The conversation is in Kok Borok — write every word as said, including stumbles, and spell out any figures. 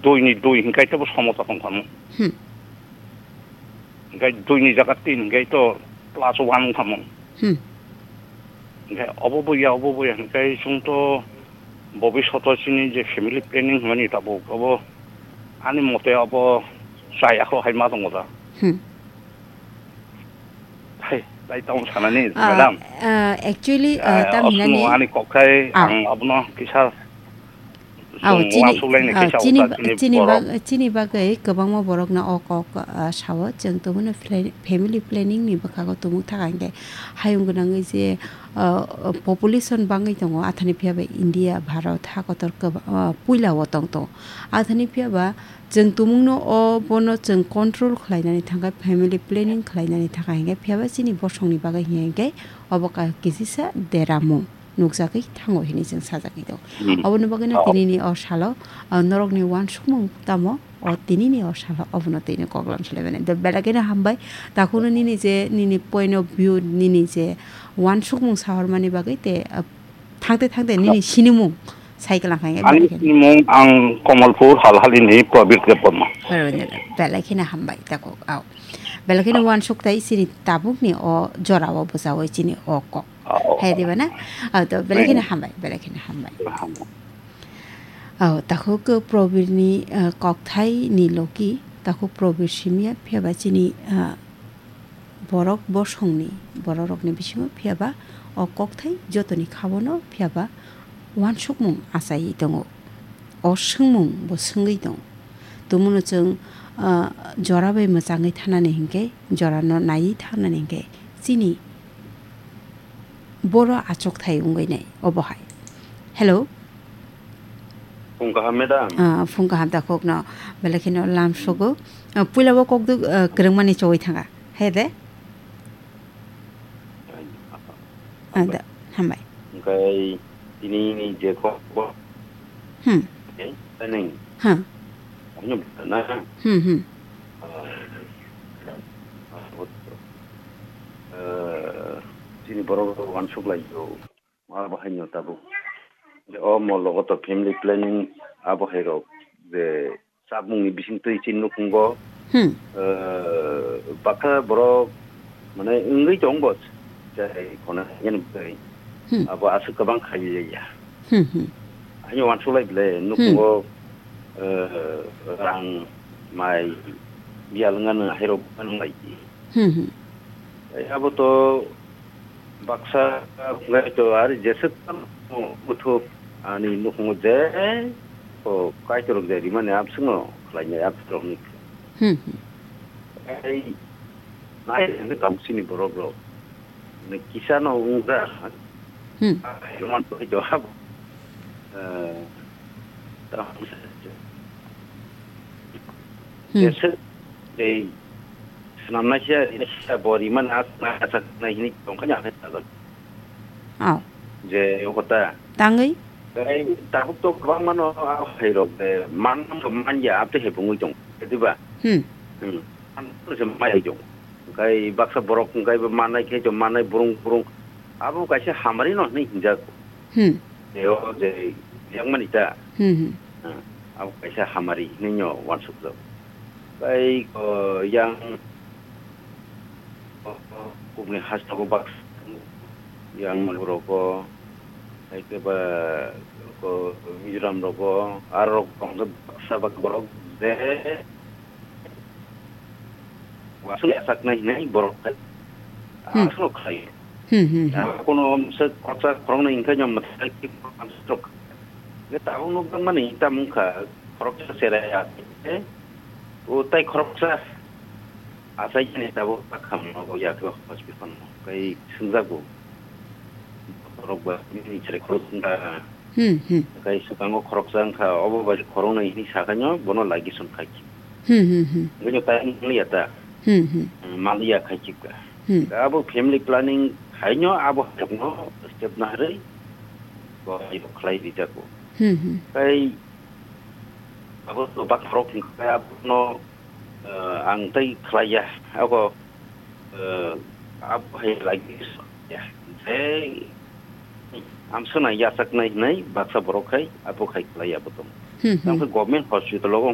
dui ni dui hinkhe to bo somosa tong kha mo. Hmm. Hinkhe dui ni jaga tin hinkhe to plus one wng kha mo. Hmm. Hinkhe obo bo ya, obo bo ya hinkhe chwng to bobishoto chini je family planning hwnmani tabuk obo ani mote obo chaya kho hai ma tongo da. Hmm. Hai, tai tong sanani, Ah, madam. Ah, actually, ah, Ah, tam osmo hinani ani kokthai Ah. ang abono kisa Aw, chini, uansuk laini ah, kisa chini, uta chini chini bag-, chini bagwi kwbangma borokno o kok, ah, sao. Chwng tongmani fla-, family planning ni bwkhago tumuk thaka hinkhe hayung gwnangwi je, ah, population bangwi tongo, athani phiya ba India, Bharat, ha kotor kwba-, ah, puila o tong tongo. Athani phiya ba chwng tumungno o bono chwng control khlainani thangkha, family planning khlainani thangkha hinkhe, phiya ba chini bosongni bagwi hinkhe obo ka-, kisisa deramung nukjagwi thango hinwi chwng sajagwi tongo. Hmm. Oboni bagwino Oh. tinini o salo, ah, norokni uansukmung tamo o tinini o salo obono twino koklam sulaimani. Do belai kheno hambai, takhukno nini je, nini point of view, nini je uansukmung sahormani bagwi te, ah, thangte thangte nini sinimung sai kwlang kha hinkhe Ani belai kheno. sinimung ang Komolpur Halhalini Prabir Debbarma. Belai kheno hambai, takhuk, au. Belai kheno uansuk tai chini tabukni o jorao bwchaui chini o kok. Oh. Hai diba na? Ah, to belai kheno Hmm. hambai, belai kheno hambai. Hambai. Oh, takhuk Probirni, ah, kokthai ni logi, takhuk Probir simya phiya ba chini, ah, borok bosongni, bororokni bisingo phiya ba o kokthai jotoni khabono phiya ba uansukmung achaiwi tongo. O swngmung bo swngwi tongo. Tumuno chwng, ah, jora bai mwchangwi thanani hinkhe, jorano naiwi thanani hinkhe, chini boro achukthai wngwi nai obo hai. Hello? Phung kaham, madam. Ah, phung kaham takhukno belai kheno lam Hmm. sugo. Ah, puila bo kokduk, ah, kwrwngmani chogwi thanga. He de? Ah, da, hambai. Hwnkhe tini ni je khobor. Hmm. Eh, tani. Ha. Ano na. Hmm, hmm. Ah, ah, chini borok rok uansuk lai o. Abo haino tabuk. O molo o to family planning abo hai rok je Chapmungni bisingtwi chini nukhungo, Hmm. eh, baksa borok, mane, wngwi tong bo, chai khona, yani bwkhai. Hmm. Abo aswk kwbang khailaiya. Hmm, hmm. Ani uansuk lai bwle, Hmm. nukhungo, eh, rang, mai, biyal wngmano, hairok wngmano lai. Hmm, hmm. Tei abo to baksa wngkha to, ari jeswk tamo buthuk ani nukhungo je o Kaitorrok je rimani abswkno khlainai abswkrokni. Hmm, hmm. Tei nai hwnwi tamo chini borokrok. Ni kisano wngkha. Hmm. Ai, man to abo. Eh, tamo Hmm. Jeswk tei swnamnaisa, rinaisa, bo rimani aswknai, aswknai hwnwi tongkha, ya, khe sajak. Oh. Je, o kota. Tangwi? Tei tabuk to kwbangmano, a, hai rok de, man, man ya, abte hai bungwi tong, diba? Hmm. Hmm. An, se mai tong. Kai baksa borok, kai bo manai khe, to manai burung, burung. Abo kaisa hamari no hwnwi hinjak. Hmm. Tei o je yakmani ta. Hmm, hmm. Ah, abo kaisa hamari hinwi no uansukjak. Tei, o, yang, o, kubni hasteo baksa yang manwi rogo, tei khe ba, o, Mizoram rogo, aro rok tong khe baksa baksa borok je, Aswk yachaknai hinwi borok khe Hmm. aswk khlai. Hmm, hmm, hmm. Kono se khoroksa khoroknwi hwnkhe no mwthai khe aswk. Tabuk nuk mani tamung kha khoroksa cherai ya. O tai khoroksa achai ni tabuk kham no ya khe hospital no kai swngjak bo. Borok ba ni cherai khorok wngkha. Hmm, hmm. Kai swkango khoroksa wngkha, obo bai khoroknwi hinwi sakhaino bono ligation khai khe. Hmm, hmm, hmm. Bini time wngya ta. Hmm, hmm. Maliya khai khe ka. Hmm. Abo family planning haino abo hakno step naharwi bo khlai rijak bo. Hmm, hmm. Kai abo to bak khorok wngkha abono, eh, ang tai khlaiya. Abo Eh, abo hai lagi ya. Je, amswkno yachaknai hinwi baksa borok khai, abo khai khlai abo tong. Hmm, hmm. Tamo khe government hospital o